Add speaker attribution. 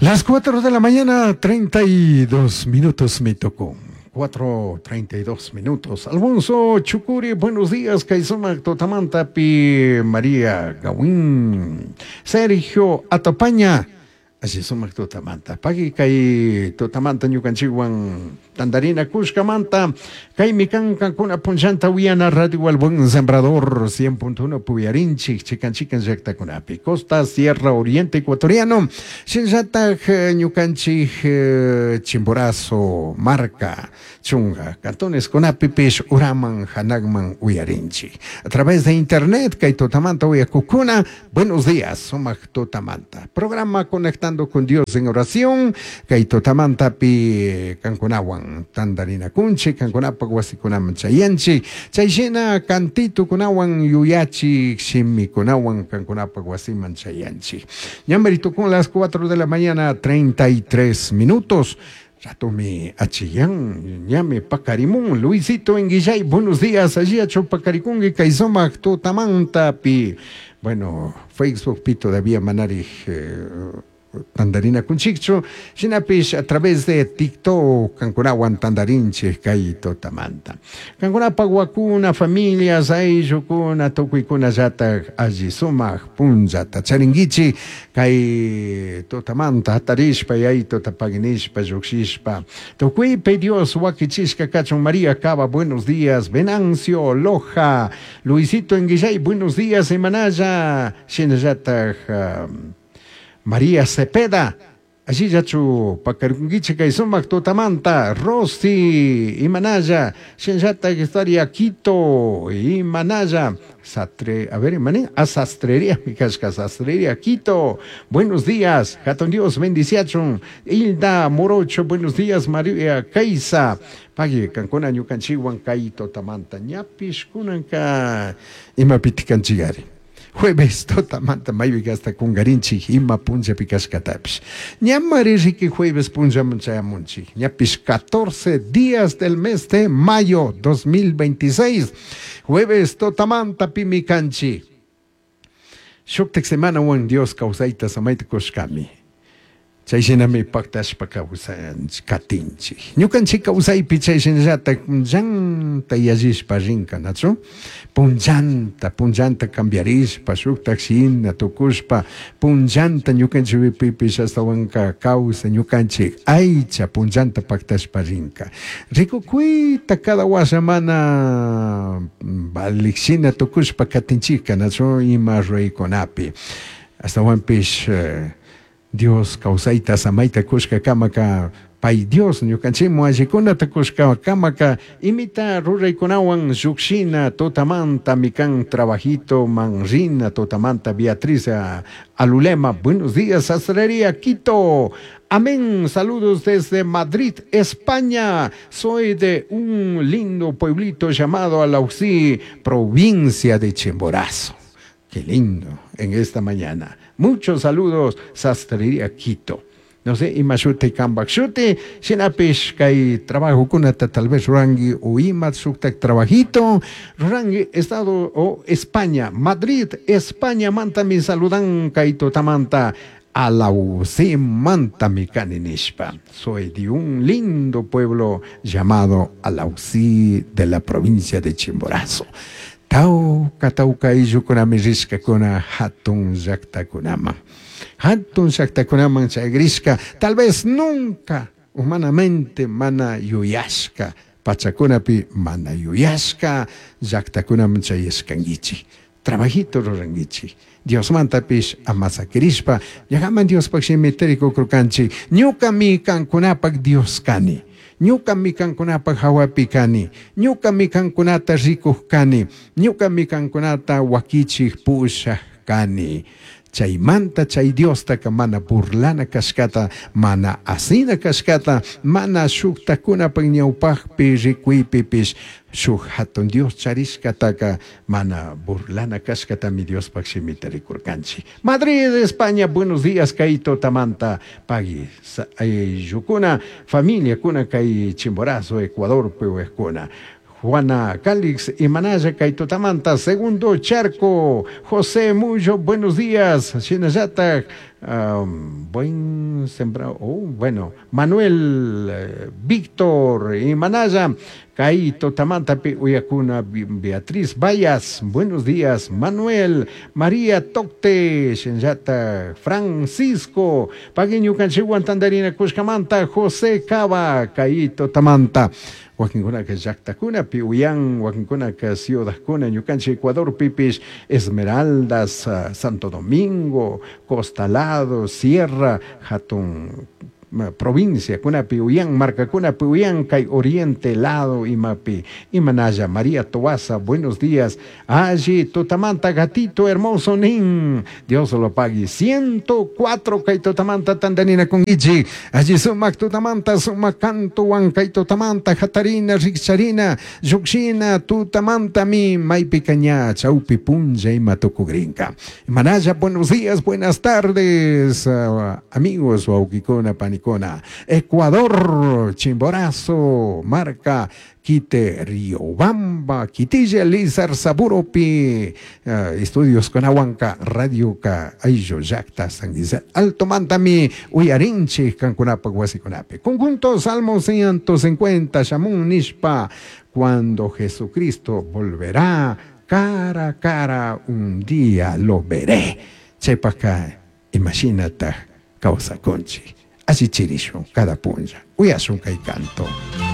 Speaker 1: Las 4 de la mañana, 32 minutos me tocó. 4.32 minutos. Alfonso Chucuri, buenos días. Kaisuma Totamanta Pi María Gawin. Sergio Atopaña. Así sumak tutamanta. Pagui kay tutamanta ñukanchikwan tandarina kushkamanta. Kaymi kan kankuna punllanta uyana Radio El Buen Sembrador 100.1 puyarinchik chikan chikan llaktakunapi. Costa Sierra Oriente Ecuatoriano. Shinllatak ñukanchik Chimborazo Marca Chunga cantones kunapipish uraman hanakman uyarinchik. A través de internet kay tutamanta uyakukuna. Buenos días, sumak tutamanta. Programa Conectando con Dios en oración. Kay tutamanta pi kankunawan tandarina kunchik, kankunapak wasikunaman chayanchik. Chayshina kantitukunawan yuyachik shimikunawan kankunapak wasiman chayanchik. Ñamari tukun las 4 de la mañana 33 minutos. Ratumi achillan, ñame pacarimun, Luisito en Guillay, buenos días, allí acho pacaricungi, kaisomak tutamanta pi. Bueno, Facebook pi todavía manari tandarina kunchikchu, shinapish a través de TikTok kankunawan tandarinchik kay tutamanta. Kankunapaq wakuna, familias, ayllukuna, tukuykuna llatak alli sumak punllata charinkichik kay tutamanta hatarishpa yaytuta paginishpa llukshishpa. Tukuypi Dios wakichishka kachun. María Cava, buenos días. Venancio Loja, Luisito Enguillay, buenos días. Emanaya, shinallatak María Cepeda, allí yachu pakarunguiche kay sumak tutamanta, Rosy, Imanaya, shinllatak historia Quito, Imanaya, Sastre, a ver, Imané, a sastrería, mi casca, sastrería, Quito, buenos días, Hatun Dios, bendiciachun, Hilda Morocho, buenos días, María Kaisa, Pagui, kankuna ñukanchikwan kay tutamanta, ñapish kunanka, imapiti kanchigari. Jueves tutamanta maypi hasta kungarinchik ima punllapi kashkatapish. Ñamari riki jueves punllaman chayamunchik. Ñapish 14 días del mes de mayo 2026. Jueves tutamanta pimi kanchik. Shuktik semanawan Dios kawsayta samayta kushkami. Chay shinami paktashpa kawsanchik katinchik. Ñukanchik kawsaypi chay shinallatak punllanta yallishpa rinka, nachu? Punllanta, punllanta cambiarishpa, shuktak shina tukushpa, punllanta ñukanchikpipish astawanka kawsa ñukanchik aycha punllanta paktashpa rinka. Rikukuyta cada washa mana valik shina tukushpa katinchikka, nachu? Ima ruraykunapi. Astawanpish Dios kawsayta samayta kushka kamaka pay Dios ñukanchikmu allikunata kushka kamaka imita ruraykunawan llukshina tutamanta mikan trabajito manrina tutamanta Beatriz Alulema, buenos días, sastrería Quito. Amén, saludos desde Madrid, España. Soy de un lindo pueblito llamado Alausí, provincia de Chimborazo. Qué lindo en esta mañana. Muchos saludos, Sastrería Quito. No sé, imashute kambakshute, shinapish kay trabajo kunata tal vez rurangi o imat shuktak trabajito, rurangi estado o España, Madrid, España, manta mi saludan kay tutamanta, Alausí manta mi kaninishpa. Soy de un lindo pueblo llamado Alausí de la provincia de Chimborazo. Tawka, tawka ayllukunami rishkakuna hatun llaktakunaman. Hatun llaktakunaman chayrishka, tal vez nunca humanamente mana yuyashka, pachakunapi mana yuyashka llaktakunaman chayashkankichik. Trabajito rurankichik. Diosmantapish amasakirishpa, llakaman Diospaj shimita rikukurkanchik. Ñukami kankunapak Dios kani. Ñukami kankunapak hawapi kani. Ñukami kankunata rikuj kani. Ñukami kankunata wakichik pushaj kani. Chaymanta chay Diostaka mana burlana kashkata, mana asina kashkata, mana shuktakunapak ñawpakpi rikuypipish shuk hatun Dios charishkataka mana burlana kashkatami Diospaj shimita rikurkanchik. Madrid, España, buenos días, kay tutamanta pagui ayllukuna, familiakuna kay Chimborazo, Ecuador, piwejkuna. Juana Calix y Manaya kay tutamanta, segundo charco, José Muyo, buenos días, shinallatak Buen sembrado, oh, bueno, Manuel Víctor y Manaya, kay tutamantapi uyakuna Beatriz Bayas, buenos días, Manuel, María Tocte, shinallata Francisco, pagui ñukanchikwan tandarina kushkamanta, José Cava, kay tutamanta. Wakinkunaka llaktakunapi uyan, wakinkunaka ciudadkuna, ñukanchik Ecuadorpipish, Esmeraldas, Santo Domingo, Costa Lado, Sierra, hatun provincia kunapi uyan, markakunapi uyan, kay oriente lado imapi, imanalla, María Tobaza, buenos días, alli tutamanta gatito hermoso nin, Dios lo pague, 104 kay tutamanta tandanina kunkichik, alli sumak tutamanta, sumak kantuwan kay tutamanta, hatarina, rikcharina, llukshina, tutamanta mi, maypika ña, chawpi punlla ima tukugrinka. Imanalla, buenos días, buenas tardes, amigos, wawkikuna, panikuna, Ecuador, Chimborazo, Marca, Quite, Riobamba, Quitilla, Lizar, Saburopi, estudios con Ahuanca, Radio Ka, Ayllo, Llacta, San Guisel, Alto Mantami, Uyarinchi, Cancunapa, Guasicunapi. Conjunto Salmo 150, Shamun Nishpa, cuando Jesucristo volverá, cara a cara un día lo veré. Chepacá, imagínate, causa conchi. Así chirishun cada punlla. Uyashun kay canto.